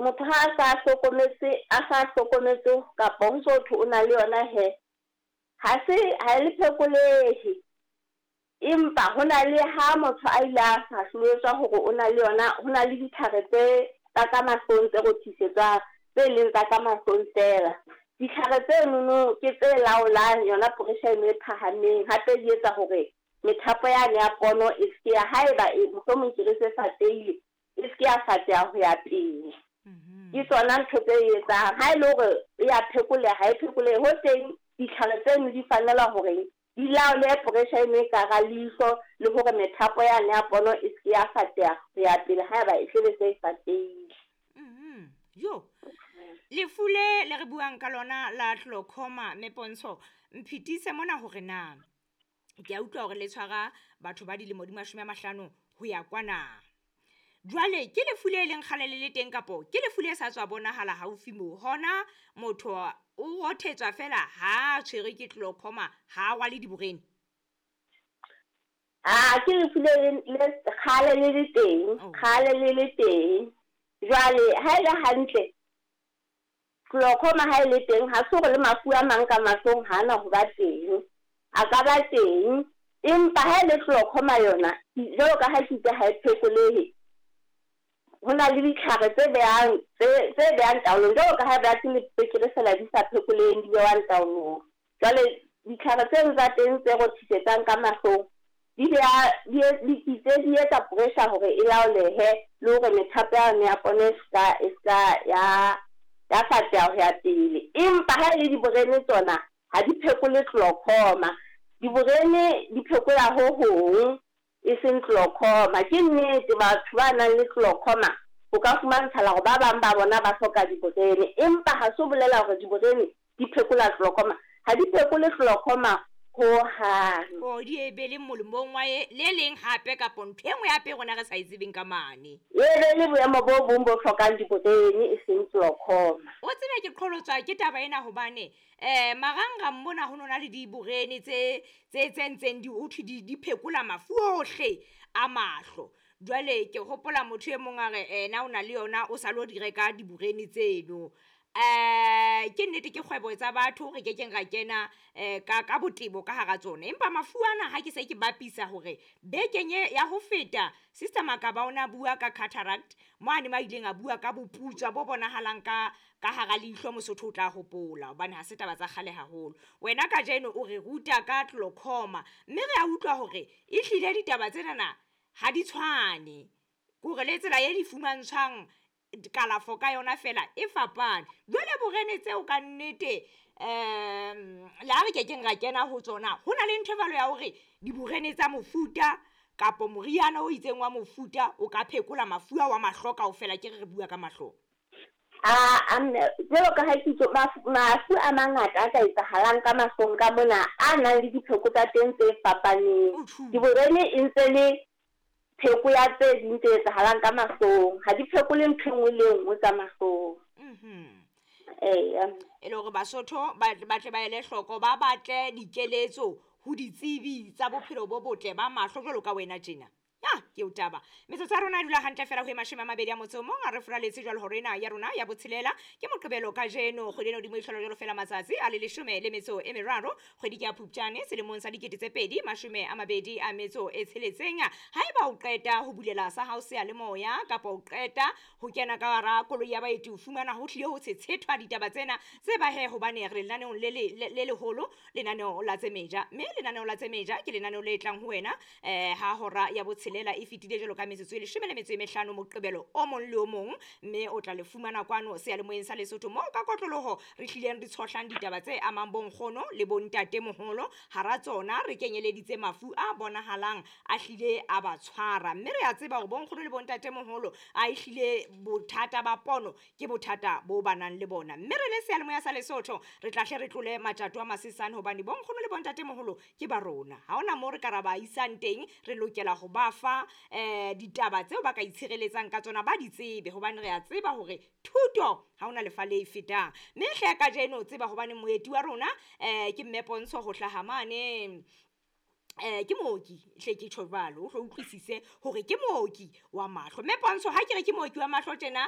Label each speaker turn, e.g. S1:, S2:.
S1: Motho ha a sa hlokometse, a sa hlokometse kapa ho so thwe o na le yona he, ha se ha e le phekolehe. Empa ho na le ha motho a ile a hlahloetswa hore o na le yona, ho na le ditlhare tse tsa ka mahlong tse rothisetswang, tse leng tsa ka mahlong feela. Ditlhare tse nono ke tse laolang yona pressure eno e phahameng, hape di etsa hore methapo yane ya pono e se ya haeba e mohlomong ke re se fatehile, e se ke ya fateha ho ya pele. Ke tsona ntho tse e etsang. Ha e le hore e ya phekoleha, ha e phekolehe. Ho teng ditlhare tseno di fanela hore di laole pressure eno e ka hara leihlo le hore methapo yane ya pono e se ke ya fateha ho ya pele haeba e tlebe se e fatehile.
S2: Jo, lefu le le re buang ka lona la glaucoma, mme Pontsho, mphitise mona hore na ke a utlwa hore le tshwara batho ba dilemo di 50 ho ya kwana. Jwale ke lefu le leng kgale le le teng kapo ke lefu le sa tswa bonahala haufi mo? Hona motho o rothetswa fela ha a tshwerwe ke glaucoma, ha a rwale diborene?
S1: A ke lefu le le kgale le le teng, kgale le le teng. Jwale ha e le hantle glaucoma ha e le teng, ha se hore le mafu a mang ka mahlong ha ana ho ba teng, a ka ba teng. Empa ha e le glaucoma yona, jwalo ka ha ke itse ha e phekolehe, ho na le ditlhare tse behang tse behang taolong, jwalo ka ha ba le tswekere fela di sa phekoleheng, di behang taolong. Jwale ditlhare tseno tsa teng tse rothisetsang ka mahlong di beha di di di etsa pressure hore e laolehe le hore methapo ya yona ya pono e ska ya ya fateha ho ya pele. Empa ha e le diborene tsona ha di phekole glaucoma. Diborene di phekola ho hong, e seng glaucoma. Ke nnete batho ba nang le glaucoma ho ka fumantshala hore ba bang ba bona ba hloka diborene, empa ha se ho bolela hore diborene di phekola glaucoma. Ha di phekole glaucoma ho hang.
S2: O di e be le molemong wa e le leng hape kapo ntho e nngwe hape rona re sa e tsebeng ka mane.
S1: E be le boemo bo bong bo hlokang diborene e seng glaucoma.
S2: O tsebe ke qholotswa ke taba ena hobane marangrang mona ho nona le diborene tse tse tse ntseng di ho thwe di phekola mafu ohle a mahlo. Jwale ke hopola motho e mong a re ena o na le yona, o sa lo di reka diborene tseno. Ke nnete ke kgwebo tsa batho, re kekeng ra kena ka botebo ka hara tsona. Empa mafu ana ha ke se ke bapisa hore bekeng e ya ho feta Sister Makaba o na bua ka cataract, mo a ne ma ileng a bua ka boputswa bo bonahalang ka hara leihlo, Mosotho o tla hopola hobane ha se taba tsa kgale haholo. Wena kajeno o re ruta ka glaucoma, mme re a utlwa hore e hlile ditaba tsenana ha di tshwane, ke hore le tsela e di fumantshwang kalafo ka yona fela e fapane. Jwale borene tseo ka nnete le ha re kekeng ra kena ho tsona, ho na le ntho e jwalo ya hore diborene tsa mofuta kapo moriana o itseng wa mofuta o ka phekola mafu ao a mahlo kaofela. Ke re re bua ka mahlo.
S1: A jwalo ka ha ke itse mafu a mangata a ka etsahalang ka mahlong ka mona a nang le dipheko tsa teng tse fapaneng. Diborene e ntse le pheko ya tse ding tse etsahalang ka mahlong, ha di phekole ntho e nngwe le e nngwe tsa mahlong. Eya.
S2: E le hore Basotho ba tle ba ele hloko, ba batle dikeletso ho ditsebi tsa bophelo bo botle ba mahlo jwalo ka wena tjena. Ya, ke o taba. Metsotso ya rona e dula hantle fela ho e 21, a re furaletse jwalo hore ena ya rona ya botshelela ke Moqebelo kajeno, kgwedi ena hodimo e hlola jwalo fela matsatsi a le 13, kgwedi ke ya Phupjane selemong sa 2026. Haeba o qeta ho bulela sa hao seyalemoya kapa o qeta ho kena ka hara koloi ya baeti, o fumana ho hlile ho tshetshethwa ditaba tsena tse ba he, hobane re lenaneong le leholo, lenaneo la tse meja, mme lenaneo la tse meja ke lenaneo le tlang ho wena ha hora ya botshelela e fetile jwalo ka metsotso e 15 Moqebelo o mong le o mong, mme o tla le fumana kwano seyalemoyeng sa Lesotho moo ka kotloloho re hlileng re tshohlang ditaba tse amang bonkgono le bontate moholo. Hara tsona re kenyeleditse mafu a bonahalang a hlile a ba tshwara, mme re a tseba hore bonkgono le bontate moholo a ehlile bothata ba pono ke bothata bo ba nang le bona. Mme re le seyalemoya sa Lesotho re tla hle re tlole matjato a masesane, hobane bonkgono le bontate moholo ke ba rona, ha hona moo re ka ra ba isang teng, re lokela ho ba fa ditaba tseo ba ka itshireletsang ka tsona, ba di tsebe, hobane re a tseba hore thuto ha hona lefa le e fetang. Mme hle kajeno tseba hobane moeti wa rona ke mme Pontsho ho hlaha mane, ke mooki, hle ke tjho jwalo, o hlo utlwisise hore ke mooki wa mahlo. Mme Pontsho, ha ke re ke mooki wa mahlo tjena,